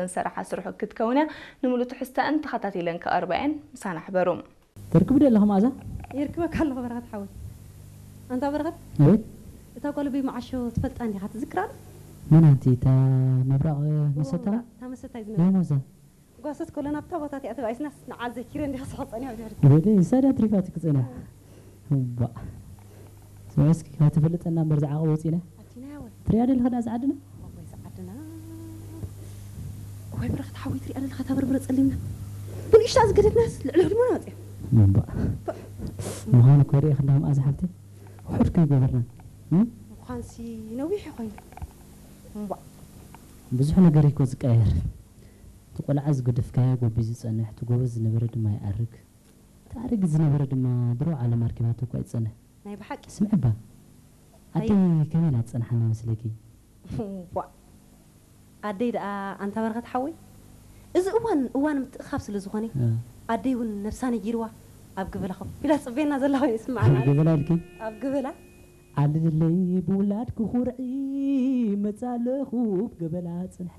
ዝሰርሓ ስርሑ ክትከውን እያ። ንምሉእ ትሕዝተኣን ተኸታቲለን ክቐርባ እየን። ምሳና ሕበሩ። ተርክቡ ዶ ኣለኹ መኣዛ? ይርክበካ ኣለኹ በረኸት ሓወይ። ኣንታ በረኸት፣ ኣቤት። እታ ጓል ኣቦይ መዓሾ ትፈልጣ እንዲኻ፣ ትዝክራ ዶ? መን ኣንቲ? እታ ምብራቕ መሰታ? እታ መሰታ እዩ ናይ ዝነበረ። መዛ። ጓሰት ከሎ ናብታ ቦታ እቲኣ ተባኢስና ንዓል ዘኪረ እንዲኻ ስሖ ጸኒሖ ድሕሪ። ወደ ሰዳ ትሪፋት ክጸና። እባ። ስማስኪ ካብ ትፈልጠና እምበር ዝዓቐ ወፂና። ኣቲና ያወይ። ትሪያ ደለኻ ዳ ዝዓድና? ኣቦይ ዝዓድና። ወይ በረኸት ሓወይ፣ ትሪኣ ደለኻ እታ በርበረ ጸሊምና ብንእሽታ ዝገደድናስ ልዕሊ ህድሞና ወፂያ። እባ። ምዃኑ እኮ ሪእኽ እንዳ መኣዛ ሓብቲ። ውሑድ ከይገበርና። እም? ምዃንሲ ነዊሕ እዩ ኮይኑ። እምባ። ብዙሕ ነገር እኮ ዝቀየር። እቲ ቆልዓ ዝገደፍካዮ ጎቢዝ ዝጸንሕ፣ እቲ ጎበዝ ዝነበረ ድማ ይኣርግ። እቲ ኣረጊት ዝነበረ ድማ ድሮ ዓለም ኣርኪባቶ እኳ ይጸንሕ። ናይ ብሓቂ። ስምዒ እባ። ኣደይ ከመይ ኢላ ትጸንሓና መስለኪ? ዋ። ኣደይ ደኣ ኣንታ በረኸት ሓወይ፣ እዚ እዋን እዋን ምትእኻብ ስለ ዝኾነ፣ እ። ኣደይ እውን ነብሳ ነጊርዋ ኣብ ገበላ ኮፍ ኢላ ትጽበየና ዘላ ኮይኑ ይስምዓና። ኣብ ገበላ ኢልኪ? ኣብ ገበላ። ዓልለይ ብውላድ ክኹርዒ መጻለኹ ገበላ ጽንሐ።